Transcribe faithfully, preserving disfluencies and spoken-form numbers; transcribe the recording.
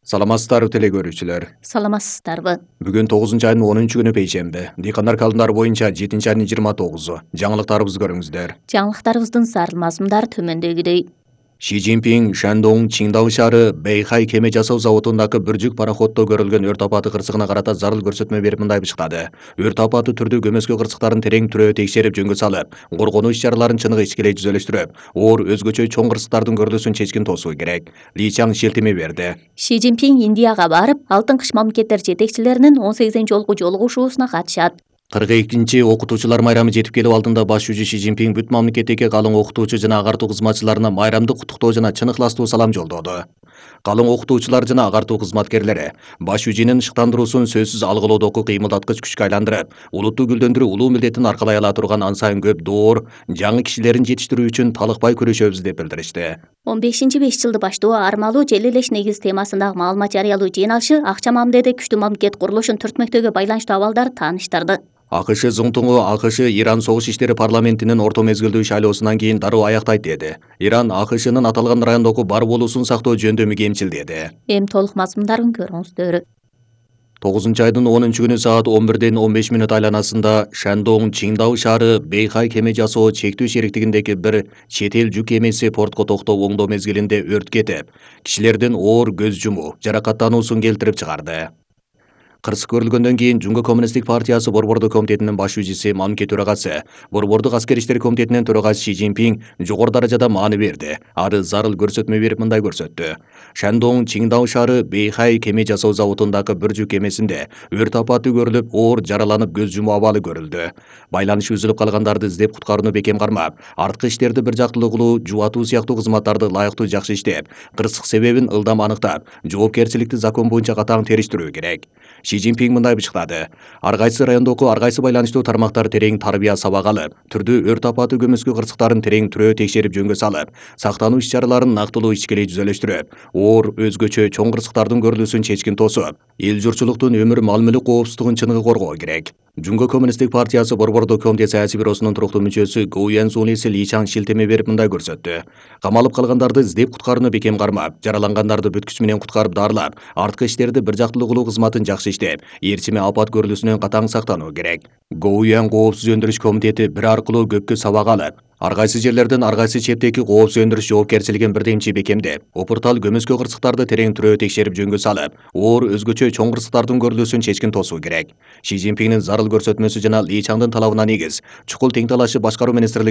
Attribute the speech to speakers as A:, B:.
A: Саламатсыздарбы теле көрүүчүлөр.
B: Саламатсыздарбы.
A: Бүгүн тогузунчу айдын онунчу күнү пейшемби. Дыйкандар календары боюнча жетинчи айдын жыйырма тогузу. Жаңылыктарыбызды көрүңүздөр.
B: Жаңылыктарыбыздын зарыл мазмундары төмөндөгүдөй.
A: Ши Цзиньпин Шандong Чиндау шаары Бэйхай кеме жасоо заводундагы бир жүк пароходдо көрүлгөн өрт апаты кырсыгына карата зарыл көрсөтмө берип мындай бышкады. Өрт апаты түрдүү көмөскө кырсыктарын терең түрөө текшерип жөнгө салып, коргонуу иш-чараларын чыныгы ичкилей түзөлүштүрүп, оор өзгөчө чоң кырсыктардын көрүлүүсүн чечкин тосуу керек. Ли Чаң шилтеме берди.
B: Ши Цзиньпин Индияга барып, Алтын кыш мамлекеттер жетекчилеринин он сегизинчи жолку жолугушуусуна катышат.
A: кырк экинчи окутуучулар майрамы жетип келип алдында баш жүзү Ши Цзиньпин бүт мамлекеттеги калың окутуучу жана агартуу кызматчыларына майрамдык куттуктоо жана чын ыхластуу салам жолдоду. Калың окутуучулар жана агартуу кызматкерлери баш жүзүнүн шыктандыруусун сөзсүз алгылоодогу кыймылдаткыч күчкө айландырып, улутту гүлдөндүрүү улуу милдетин аркалай ала турган ан сайын көп доор, жаңы кишилерин жетиштирүү үчүн талыкпай күрөшөбүз деп билдиришти.
B: он бешинчи беш жылды баштоо армалуу жел элеш негиз темасындагы маалымат жарыялоо жыйналышы акча мамиледе күчтүү мамлекет курулушун түртмөктөгү байланыштуу абалдарды тааныштырды.
A: АКШ зыңтуңу АКШ Иран согуш иштери парламентинин орто мезгилдүү шайлоосунан кийин дароо аяктайт деди. Иран АКШнын аталган райондогу бар болуусун сактоо жөндөмү кемчил деди.
B: Эми толук мазмундарын көрүңүздөр.
A: тогузунчу айдын онунчу күнү саат он бирден он беш мүнөт айланасында Шандong Чиндау шаары Бэйхай кеме жасоо чектүү шериктигиндеги бир чет эл жүк кемеси портко токтоп оңдоо мезгилинде өрт кетип, кишилердин оор көз жумуу, жаракаттануусун келтирип чыгарды. Кырсык көрүлгөндөн кийин Жунго коммунисттик партиясы Борбордук комитетинин баш жүзүсү мамлекет төрагасы, Борбордук аскер иштер комитетинин төрагасы Ши Цзиньпин жогору даражада маани берди. Ары зарыл көрсөтмө берип мындай көрсөттү. Шандong Чиндау шаары Бэйхай кеме жасоо заводундагы бир жүк кемесинде өрт апаты көрүлүп, оор жараланып көз жумуу абалы көрүлдү. Байланышы үзүлүп калгандарды издеп куткарууну бекем кармап, арткы иштерди бир жактылуу кылуу, жубатуу сыяктуу кызматтарды ылайыктуу жакшы иштеп, кырсык себебин ылдам аныктап, жоопкерчиликти закон боюнча катаң териштирүү керек. Ши Цзиньпин мындай бышкады. Ар кайсы райондогу ар кайсы байланыштуу тармактар терең тарбия сабак алып, түрдүү өрт апаты көмөскө кырсыктарын терең түрөө текшерип жөнгө салып, сактануу иш-чараларын нактылуу ичкилей түзөлүштүрүп, оор өзгөчө чоң кырсыктардын көрүлүүсүн чечкин тосуп, эл журтчулуктун өмүр мал мүлүк коопсуздугун чыныгы коргоо керек. Жунго коммунисттик партиясы Борбордук комитет саясий бюросунун туруктуу мүчөсү Гоу Янсун эси Ли Чаң шилтеме берип мындай көрсөттү. Камалып калгандарды издеп куткарууну бекем кармап, жаралангандарды бүт күч менен куткарып даарылап, арткы иштерди бир жактылуу кылуу кызматын жакшы иштеп, ээрчиме апат көрүлүүсүнөн катаң сактануу керек. Гоу Ян коопсуз өндүрүш комитети бир аркылуу көпкө сабак алып, ар кайсы жерлерден ар кайсы чептеги коопсуз өндүрүш жоопкерчилигин бирдемчи бекемдеп, опуртал көмөскө кырсыктарды терең түрөө текшерип жөнгө салып, оор өзгөчө чоң кырсыктардын көрүлүүсүн чечкин тосуу керек. Ши Цзиньпиндин зарыл көрсөтмөсү жана Ли Чаңдын талабына негиз, чукул тең талашып башкаруу министрлиги